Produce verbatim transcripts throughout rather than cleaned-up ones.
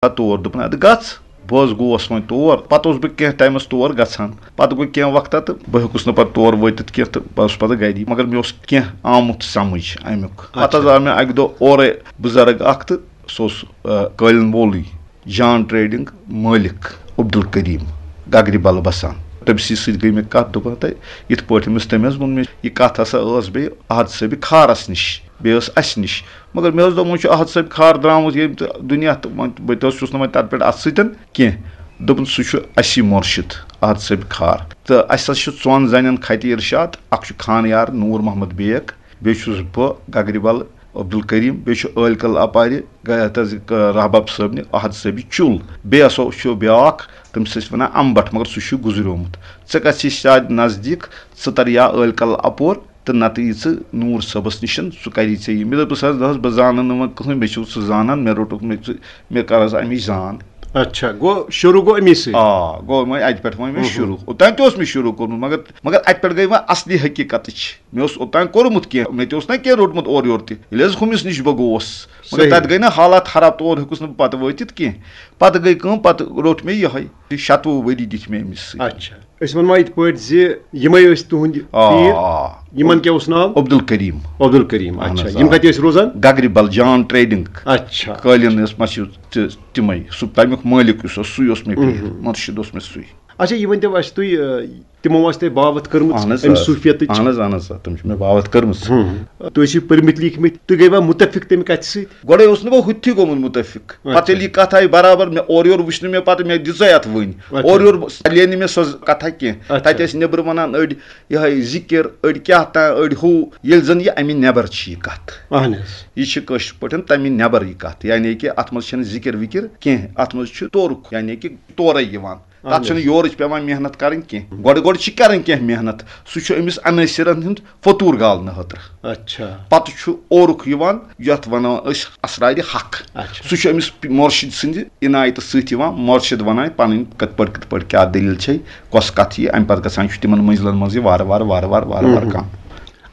پتہٕ تور، دوٚپُن، "اَدٕ گژھ۔" بہٕ حظ گوس وۄنۍ تور۔ پتہٕ اوسُس بہٕ کینٛہہ ٹایمَس تور گژھان۔ پتہٕ گوٚو کینٛہہ وقتہ تہٕ بہٕ ہیوٚکُس نہٕ پتہٕ تور وٲتِتھ کینٛہہ تہٕ بہٕ اوسُس پتہٕ گَری۔ مگر مےٚ اوس کینٛہہ آمُت سمجھ اَمیُک۔ پتہٕ حظ اچھا۔ آو مےٚ اَکہِ دۄہ اورَے بُزرگ اَکھ تہٕ سُہ اوس، آ، قٲلیٖن وولٕے، جان ٹریڈنگ مٲلِک عبدالکریم گگرِ بل بسان۔ تٔمۍ سٕے سۭتۍ گٔے مےٚ کَتھ، دوٚپُن، "تہٕ یِتھ پٲٹھۍ أمِس"، تٔمۍ حظ ووٚن مےٚ، "یہِ کَتھ ہسا ٲس بیٚیہِ احد صٲبِ خارَس نِش، بیٚیہِ ٲس اَسہِ نِش۔" مگر مےٚ حظ دوٚپ، وۄنۍ چھُ احد صٲبِ خار درٛامُت ییٚمہِ تہٕ دُنیا تہٕ وۄنۍ بہٕ تہِ اوسُس نہٕ وۄنۍ تَتھ پٮ۪ٹھ اَتھٕ سۭتۍ کینٛہہ۔ دوٚپُن، "سُہ چھُ اَسی مُرشِد احد صٲبِ خار۔ تہٕ اَسہِ حظ چھِ ژۄن زَنٮ۪ن خطِ ارشاد، اَکھ چھُ خانیار نوٗر محمد بیگ، بیٚیہِ چھُس بہٕ گگرِ بل عبدالکریم، بیٚیہِ چھُ عٲلۍ کل اپارِ، گ-، یَتھ حظ، ک-، رحباب صٲبنہِ احد صٲبِ چُل۔ بیٚیہِ ہسا چھُ بیٛاکھ، تٔمِس ٲسۍ وَنان اَمبَٹھ، مگر سُہ چھُ گُزریومُت۔ ژٕ گژھ یہِ شاید نزدیٖک، ژٕ تَر یا عٲلۍ کل اَپور تہٕ نَتہٕ یہِ ژٕ نوٗر صٲبَس نِش، سُہ کَری ژےٚ یہِ۔" مےٚ دوٚپُس، "حظ، نہ حظ، بہٕ زانَن نہٕ وۄنۍ کٕہٕنۍ، مےٚ چھُ سُہ زانان، مےٚ روٚٹُکھ، مےٚ ژٕ، مےٚ کَر حظ اَمِچ زان۔" اچھا، گوٚو شروٗع گوٚو اَمی سۭتۍ۔ آ، گوٚو وۄنۍ اَتہِ پٮ۪ٹھ وۄنۍ مےٚ ہُم۔ شروٗع۔ اوٚتام تہِ اوس مےٚ شروٗع کوٚرمُت، مگر، مگر اَتہِ پٮ۪ٹھ گٔے وۄنۍ اَصلی حقیٖقتٕچ۔ مےٚ اوس اوٚتام کوٚرمُت کینٛہہ، مےٚ تہِ اوس نہ کینٛہہ روٚٹمُت اورٕ یورٕ تہِ۔ ییٚلہِ حظ ہُمِس نِش بہٕ گوس، مگر صحیح۔ تَتہِ گٔے نہ حالات خراب، تور ہیوٚکُس نہٕ بہٕ پَتہٕ وٲتِتھ کینٛہہ۔ پَتہٕ گٔے کٲم، پَتہٕ روٚٹ مےٚ یِہوٚے۔ شَتوُہ ؤری دِتۍ مےٚ أمِس سۭتۍ۔ اچھا، أسۍ وَنو یِتھ پٲٹھۍ زِ یِمَے ٲسۍ تُہٕنٛدۍ آ، پیٖر۔ آ۔ یِمَن کیٛاہ اوس ناو؟ عبدالکریم۔ عبدالکریم، اہن اچھا۔ حظ، یِم آ۔ کَتہِ ٲسۍ روزان؟ گگرِ بل، جان ٹریڈنگ۔ اچھا۔ قٲلیٖن ٲس مَشہوٗر تہٕ تِمَے۔ سُہ تَمیُک مٲلِک یُس اوس، سُے اوس مےٚ پیٖر۔ مُرشِد اوس مےٚ سُے۔ اچھا، یہِ ؤنۍ تو اَسہِ تُہۍ، آ، تِمو ٲس تۄہہِ باوَتھ کٔرمٕژ اہن حظ، اَمہِ آ۔ صوٗفیتٕچ؟ اہن حظ، اہن حظ، آ، تِم چھِ مےٚ باوَتھ کٔرمٕژ۔ تُہۍ ٲسِو پٔرمٕتۍ لیٖکھمٕتۍ، تُہۍ گٔیوا مُتفِق تَمہِ کَتھِ سۭتۍ؟ گۄڈَے اوس نہٕ بہٕ ہُتہِ تہِ گوٚمُت مُتفِق۔ اچھا۔ پَتہٕ ییٚلہِ یہِ کَتھ آیہِ برابر، مےٚ اورٕ یورٕ وٕچھ نہٕ مےٚ پَتہٕ، مےٚ دِژٕے اَتھ وٕنۍ۔ اچھا۔ اورٕ یورٕ بہٕ، لیے نہٕ مےٚ سۄ کَتھا کینٛہہ۔ اچھا۔ تَتہِ ٲسۍ نیٚبرٕ وَنان أڑۍ یِہوٚے ذِکِر، أڑۍ کیٛاہ تام، أڑۍ ہُہ، ییٚلہِ زَن یہِ اَمہِ نٮ۪بَر چھِ یہِ کَتھ۔ اہن حظ۔ یہِ چھِ کٲشِر پٲٹھۍ تَمہِ نٮ۪بَر یہِ کَتھ، یعنی کہِ اَتھ منٛز چھَنہٕ ذِکِر وِکِر کینٛہہ، اَتھ منٛز چھُ تورُک، یعنی کہِ تورَے یِوان۔ تَتھ اہن چھَنہٕ حظ۔ یورٕچ پٮ۪وان محنت کَرٕنۍ کینٛہہ۔ گۄڈٕ گۄڈٕ چھِ کَرٕنۍ کینٛہہ محنت۔ سُہ چھُ أمِس عنٲصرَن ہُنٛد فطوٗر گالنہٕ خٲطرٕ۔ اچھا۔ پَتہٕ چھُ اورُک یِوان، یَتھ وَنان أسۍ اسرارِ حق۔ اچھا۔ سُہ چھُ أمِس پ-، مُرشِد سٕنٛدِ عنایتہٕ سۭتۍ یِوان۔ مُرشِد وَنان پَنٕنۍ کِتھ پٲٹھۍ، کِتھ پٲٹھۍ کیٛاہ دٔلیٖل چھے، کۄس کَتھ یہِ، اَمہِ پَتہٕ گژھان چھُ تِمَن مٔنٛزلَن منٛز یہِ وارٕ وارٕ، وارٕ وارٕ، وارٕ وارٕ اہم۔ کَم۔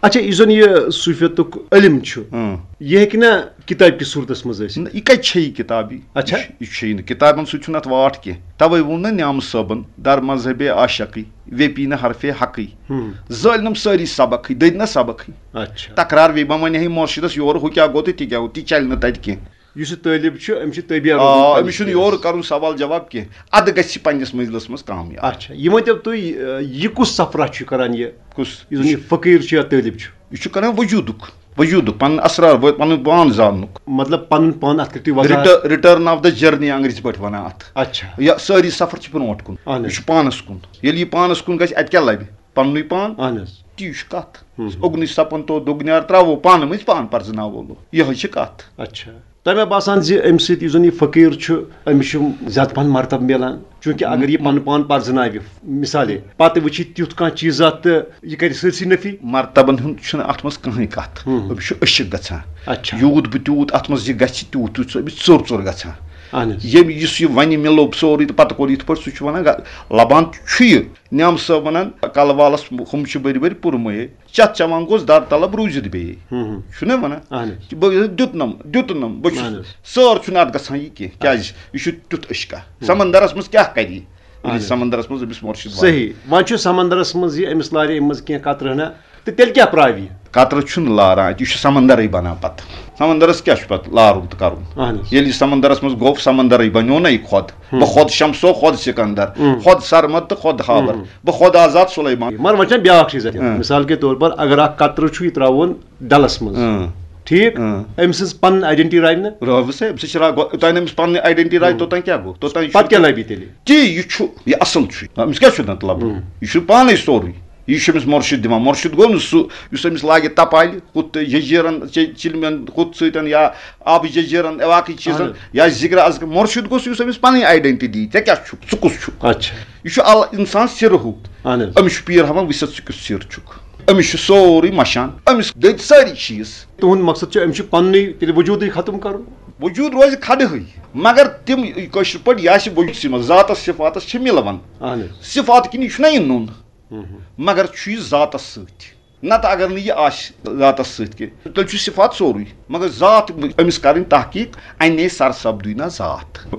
اچھا، یُس زَن یہِ صوٗفیتُک علم چھُ، اۭں۔ یہِ ہیٚکہِ نا کِتابہِ کِس صوٗرتَس منٛز ٲسِتھ؟ نہ، یہِ کَتہِ چھےٚ یہِ کِتاب یہِ؟ اچھا۔ یہِ چھُ، یہِ چھُ یہِ نہٕ، کِتابَن سۭتۍ چھُنہٕ اَتھ واٹھ کینٛہہ۔ تَوَے ووٚن نہ نیامہٕ صٲبَن، "در مذہبِ عاشقی، ویپی نہٕ حرفِ حقی۔" ہُم۔ زٲلۍ نَم سٲری سبقٕے، دٔدۍ نہ سبقٕے۔ اچھا۔ تکرار بیٚیہِ، بہٕ وَنہٕ ہے مُرشِدَس یورٕ، ہُہ کیٛاہ گوٚو تہٕ تہِ کیٛاہ گوٚو، تہِ چَلہِ نہٕ تَتہِ کینٛہہ۔ یُس یہِ طٲلب چھُ، أمِس چھُ تربیت آ، روزمُت أمِس چھُنہٕ پننِس یورٕ پِرِنٛسَس۔ کَرُن سوال جواب کینٛہہ۔ اَدٕ گژھِ یہِ پننِس مٔنٛزلَس منٛز کامیاب۔ اچھا، یہِ ؤنۍ تو تُہۍ، اَ، یہِ کُس سفرہ چھُ کران یہِ؟ کُس؟ یُس زَن یہِ فقیٖر چھُ یا طٲلب چھُ؟ یہِ چھُ کران وجوٗدُک، وجوٗدُک، پنُن اسرار، و-، پنُن پان زاننُک۔ مطلب، پنُن پان اَتھ کٔرِو تُہۍ وضاحت۔ Return of the journey انگریزی پٲٹھۍ وَنان اَتھ۔ اچھا۔ یا سٲری سفر چھِ برونٛٹھ کُن۔ اہن حظ۔ یہِ چھُ پانَس کُن۔ ییٚلہِ یہِ پانَس کُن گژھِ، اَتہِ کیٛاہ لَبہِ؟ پَننُے پان۔ اہن حظ۔ تی چھُ کَتھ۔ ہُم۔ اُگنٕچ سَپَن تو دُگنیار ترٛاوو پانہٕ مٔنٛزۍ پان پَرزٕناوو لو۔ یِہوٚے چھِ کَتھ۔ اچھا۔ تۄہہِ مےٚ باسان زِ اَمہِ سۭتۍ یُس زَن یہِ فقیٖر چھُ، أمِس چھُ زیادٕ پَہَن مرتبہٕ مِلان، چوٗنٛکہِ اگر یہِ پَنُن پان پَرزٕناوِ، مِثالے، پَتہٕ وٕچھِ تیُتھ کانٛہہ چیٖزا تہٕ یہِ کَرِ سٲرسٕے نفی۔ مرتبن ہُنٛد چھُنہٕ اَتھ منٛز کٕہٕنۍ کَتھ۔ ہُم۔ أمِس چھُ عشق گژھان۔ اچھا۔ یوٗت بہٕ تیوٗت اَتھ منٛز یہِ گژھِ، تیوٗت، تیوٗت چھُ أمِس ژوٚر ژوٚر گژھان۔ اہن حظ۔ ییٚمۍ یُس یہِ وَنہِ مےٚ لوٚب سورُے تہٕ پَتہٕ کوٚر یِتھ پٲٹھۍ، سُہ چھُ وَنان گا-، لَبان چھُ یہِ۔ نیام صٲب وَنان، کَلہٕ والَس ہُم چھِ بٔرۍ بٔرۍ پُرمٲیِتھ، چَتھ چٮ۪وان گوٚژھ دَر طلب روٗزِتھ بیٚیہِ۔ ہُم ہُم۔ چھُنہ وَنان؟ اہن حظ۔ بہٕ دیُتنَم، دیُتنَم، بہٕ چھُس اہن حظ۔ سٲر چھُنہٕ اَتھ گژھان یہِ کینٛہہ، کیٛازِ یہِ چھُ تیُتھ عشقہ۔ ہُم۔ سمندرَس منٛز کیٛاہ کَرِ یہِ؟ اہن ییٚلہِ حظ۔ سمندرَس منٛز أمِس مُرشِد واتہِ۔ صحیح۔ وۄنۍ چھُ سمندرَس منٛز یہِ أمِس لارِ اَمہِ منٛز کینٛہہ قطرٕ ہنا، تہٕ تیٚلہِ کیٛاہ پرٛاوِ یہِ؟ قطرٕ چھُنہٕ لاران اَتہِ، یہِ چھُ سمندرٕے بَنان پَتہٕ۔ سمندرَس کیٛاہ چھُ پَتہٕ لارُن تہٕ کَرُن؟ اہن حظ۔ ییٚلہِ یہِ سمندرَس منٛز گوٚو، سمندرٕے بَنیو نہ یہِ خۄد۔ ہُم۔ بہٕ خۄد شمسو، خۄد سِکندر، ہُم۔ خۄد سرمد تہٕ خۄد ہاور۔ ہُم۔ بہٕ خۄد آزاد سُلیمان۔ مگر وۄنۍ چھَنہٕ بیٛاکھ چیٖز اَتہِ۔ اۭں۔ مثال کے طور پر اگر اَکھ قطرٕ چھُ یہِ ترٛاوُن ڈَلَس منٛز۔ اۭں۔ ٹھیٖک؟ اۭں۔ أمۍ سٕنٛز پَنٕنۍ identity راوِ نہٕ؟ رٲوٕس ہے، أمِس چھِ را-، گۄ-، یوٚتانۍ أمِس پَنٕنۍ identity راوِ، ہُم۔ توٚتانۍ کیٛاہ گوٚو؟ توٚتانۍ یہِ پَتہٕ چھُ کیٛاہ لَبہِ تیٚلہِ؟ تی، یہِ چھُ، یہِ اَصٕل چھُ۔ أمِس کیٛاہ چھُ نَتہٕ لَبُن؟ ہُم۔ یہِ چھُ پانَے سورُے۔ یہِ چھُ أمِس مُرشِد دِوان۔ مُرشِد گوٚو نہٕ سُہ، یُس أمِس لاگہِ تَپالہِ، ہُتھ تہٕ جٔجیٖرَن، چِ-، چِلمٮ۪ن ہُتھ سۭتۍ یا آبہٕ جٔجیٖرَن، باقٕے چیٖزَن، اَہَن حظ۔ یا ذِکرِ اَذکار۔ مُرشِد گوٚو سُہ، یُس أمِس پَنٕنۍ identity دی، ژےٚ کیٛاہ چھُکھ، ژٕ کُس چھُکھ؟ اچھا۔ یہِ چھُ ال-، اِنسان سِرہُک۔ اَہَن حظ۔ أمِس چھُ پیٖر ہاوان، وٕچھ سا، ژٕ کیُتھ سِر چھُکھ۔ أمِس چھُ سورُے مَشان۔ أمِس دٔدۍ سٲری چیٖز۔ تُہُنٛد مقصد چھُ، أمِس چھُ پَننُے تیٚلہِ وجوٗدٕے ختم کَرُن۔ وجوٗد روزِ کھڑہٕے، مگر تِم کٲشِر پٲٹھۍ یہِ آسہِ وجوٗد سٕے منٛز، ذاتَس صِفاتَس چھِ مِلوَن۔ اَہَن حظ۔ صِفات کِنۍ یہِ چھُنہ یہِ نوٚن، ہُم ہُم۔ مگر چھُ یہِ ذاتَس سۭتۍ۔ نتہٕ اگر نہٕ یہِ آسہِ ذاتس سۭتۍ کینٛہہ، تیٚلہِ چھُ صفات سورُے، مگر ذات أمِس کرٕنۍ تحقیق، اَنے سرسبدٕے نہ ذات۔